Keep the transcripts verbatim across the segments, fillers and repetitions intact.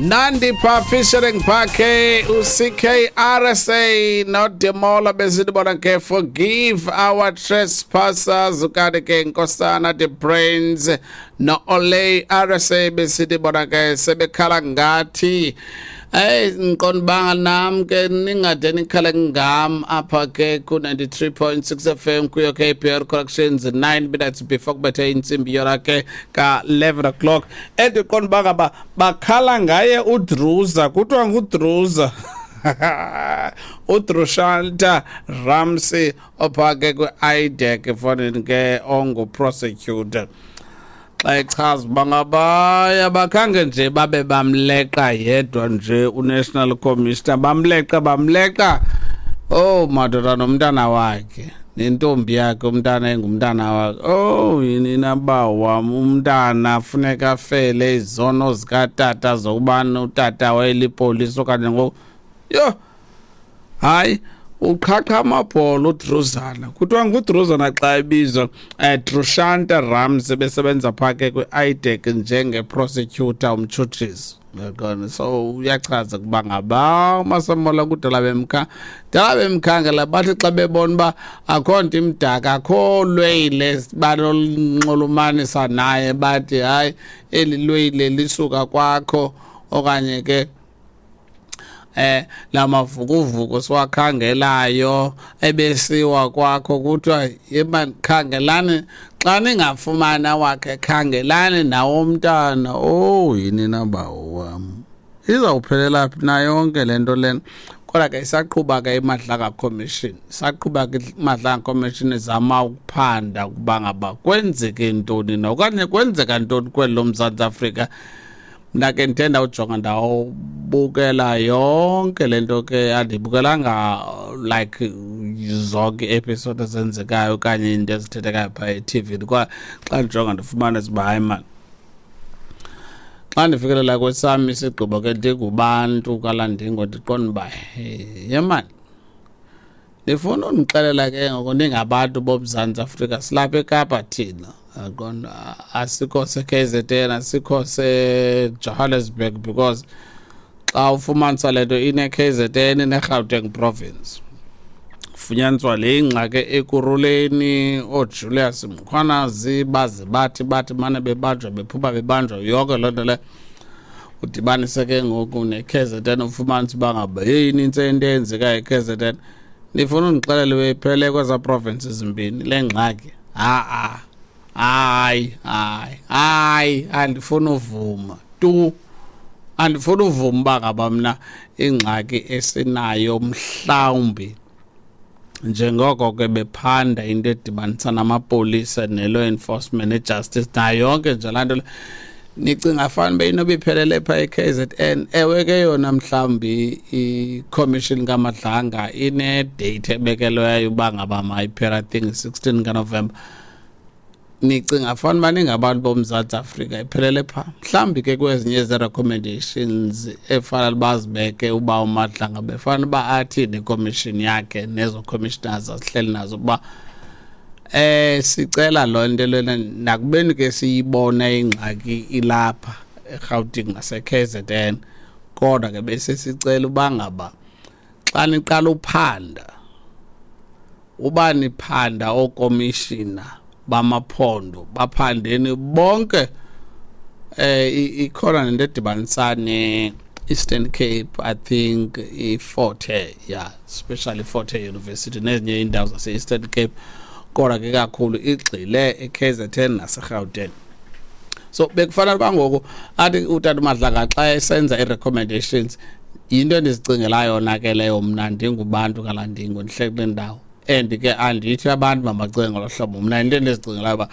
Nandipha featuring Phake u-C K R S A noDemola, besithi bona ke "Forgive Our Trespassers". Kanti ke Nkosana The Brains no-Olay R S A besithi bona ke "Sebekhala Ngathi". Hey, ngiqonda banga nam ke ningade nikhale ngam apha ke ku ninety-three point six F M kuyo K P R Corrections, nine minutes before kubethe intsimbi yona ke ka eleven o'clock. Endiqonda uba ngaba bakhala ngaye uDruza, kuthiwa nguDruza, uDrushanta Ramsey opha ke kwi-IDAC fonini ke, ongu-prosecutor, xa echaza uba ngabaya bakhange nje babe bamleqa yedwa nje uNational Commissioner, bamleqa bamleqa oh madoda, nomntana wakhe nentombi yakhe, umntana engumntana wakhe. Oh yini naba wam, umntana funeka afele izono zikatata zokubana utata wayelipolisa okanye ngoku. Yho, hayi, uqhaqha amabhola uDruzana, kuthiwa nguDruzana xa ebizwa, um Drushanta Ramsey, besebenza phaa ke kwi-IDAC njenge-prosecutor, umtshutshisi. Uyaqonda? So uyachaza ukuba ngaba uMasemola kudala bemkha dala bemkhangela, bathi xa bebona uba akho nto imdaka, akho lweyile banolunxulumanisa naye, bathi hayi, eli lweyile lisuka kwakho okanye ke eh lamavukuvuku siwakhangelayo ebesiwa kwakho, kuthiwa yeba khangelani, xa ningafumana wakhe khangelani nawo umntana. Oh yini nabawo wam, izawuphelela phi na yonke le nto lena? Kodwa ke isaqhuba ke iMadlanga Commission, isaqhuba ke iMadlanga Commission izama ukuphanda ukuba ngaba kwenzeke ntoni na okanye kwenzeka ntoni kweli loMzantsi Afrika. Mna ke ndithe ndawujonga, ndawubukela yonke le nto ke, andibukelanga like zonke ii-episode ezenzekayo okanye iinto ezithethekayo phaa ethivini, kwa xa ndijonga ndifumanisa uba hayi mani, xa ndifikelela kwesam isigqibo ke ndingubantu kaLandingo, ndiqonda uba ye mani, ndifuna undixelela ke ngoku ningabantu boMzantsi Afrika, silapha eKapa thina, yaqonda, asikho se-K Z N, asikho seJohannesburg, because xa ufumanisa le nto ine-K Z N, ine-Gauteng province, funyaniswa le ingxaki Ekurhuleni, ooJulius Mkhwanazi baze bathi bathi mane bebanjwa, bephuma, bebanjwa, yonke loo nto leyo udibanise ke ngoku ne-K Z N, ufumanise uba ngaba yeyi inintsi into eyenzekayo e-K Z N. Ndifuna undixelele beyiphele kwezaa provinces zimbini le ngxaki? Ha-a, hayi, hayi, hayi, andifuni uvuma tu, andifuni uvuma uba ngaba mna ingxaki esinayo mhlawumbi njengoko ke bephanda into edibanisa namapolisa ne-law enforcement ne-justice nayo yonke nje laa nto le, nicinga fani beyinoba iphelele phaa e-K Z N? Ewe ke yona mhlawumbi i-commission kaMadlanga ine-date ebekelweyo uba ngaba mayiphela, I think sixteen kaNovemba. Nicinga fani uba ningabantu boMzantsi Afrika iphelele phaa? Mhlawumbi ke kwezinye zee-recommendations efanele bazibeke uba uMadlanga befana uba athini ikomishini yakhe nezo commissioners azihleli nazo, ukuba eh sicela loo nto lena, nakubeni ke siyibona ingxaki ilapha eRhawutini nase-K Z N, kodwa ke bese sicela uba ngaba xa niqala uphanda, uba niphanda ookomishina bamaphondo, baphandeni bonke. eh ikhona nento edibanisa ne-Eastern Cape, I think iFort Hare, yeah, especially Fort Hare University nezinye iindawo zase-Eastern Cape, kodwa ke kakhulu igxile e-K Z N naseGauteng. So bekufanele uba ngoku athi utata uMadlanga xa esenza ii-recommendations, yinto endizicingela yona ke leyo mna ndingubantu kaLandingo, ndihle kule ndawo, and ke andithi abantu mabacinge ngolo hlobo. Mna into endizicingelayo uba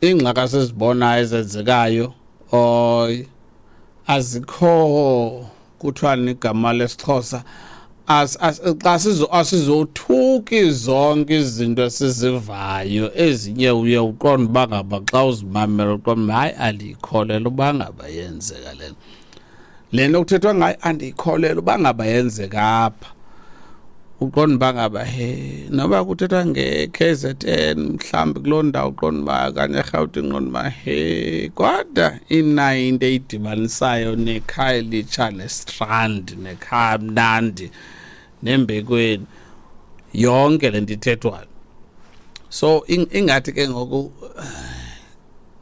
iingxaki esizibonayo ezenzekayo oy azikho, kuthiwani igama lesiXhosa, as, as, xa sizo asizothuki zonke izinto esizivayo. Ezinye uye uqonde uba ngaba xa uzimamela uqonde uba hayi, andiyikholelwa uba ngaba yenzeka le le nto kuthethwa ngayo, andiyikholelwa uba ngaba yenzeka apha. Uqonda uba ngaba he noba kuthethwa nge-K Z N mhlawumbi kuloo ndawo, uqonda uba okanye eRhawutini, uqonda uba he kodwa inayo into eyidibanisayo neKhayelitsha neStrand neKhamnandi nembekweni, yonke le nto ithethwayo. So ingathi ke ngoku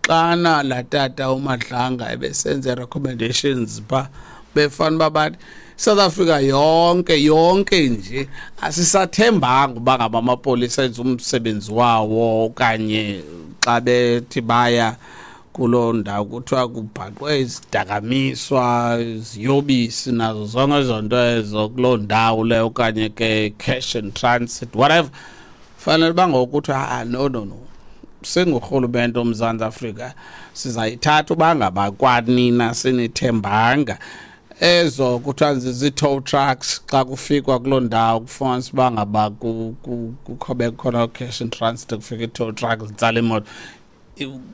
xana laa tata uMadlanga ebesenza recommendations phaa, befana uba bathi South Africa yonke yonke nje asisathembanga uba ngaba amapolisa enza umsebenzi wawo, okanye xa bethi baya kuloo ndawo kuthiwa kubhaqwe izidakamiswa, iziyobisi nazo zonke ezo nto ezo kuloo ndawo leyo, okanye ke cash and transit whatever. Fanele uba ngoku kuthiwa ah no no no, singurhulumente woMzantsi Afrika sizayithatha uba ngaba kwanina sinithembanga. Ezo kuthiwa zii-tow trucks xa kufikwa kuloo ndawo kufumanisa uba ngaba kukho bekhona cash and transit, kufika ii-tow trucks zitsala imoto.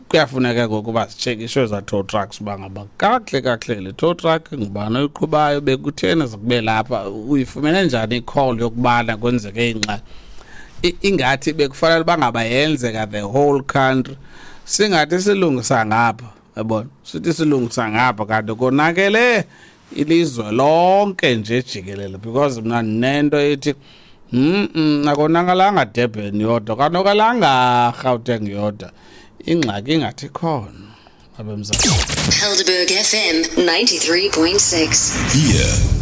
Kuyafuneka ngoku uba zitshekishwe ezaa tow trucks uba ngaba kakuhle kakuhle le tow truck ngubani oyiqhubayo, bekutheni zikube lapha, uyifumene njani i-call yokubana kwenzeke ingxaki. Ingathi bekufanele uba ngaba yenzeka the whole country, singathi silungisa ngapha, yabona, sithi silungisa ngapha kanti konakele ilizwe lonke nje jikelele. Because mna ndinento ethi mm akonakalanga Durban yodwa, kanokalanga Gauteng yodwa, ingxaki ingathi khona abemzantsi. Helderberg F M ninety-three point six. Here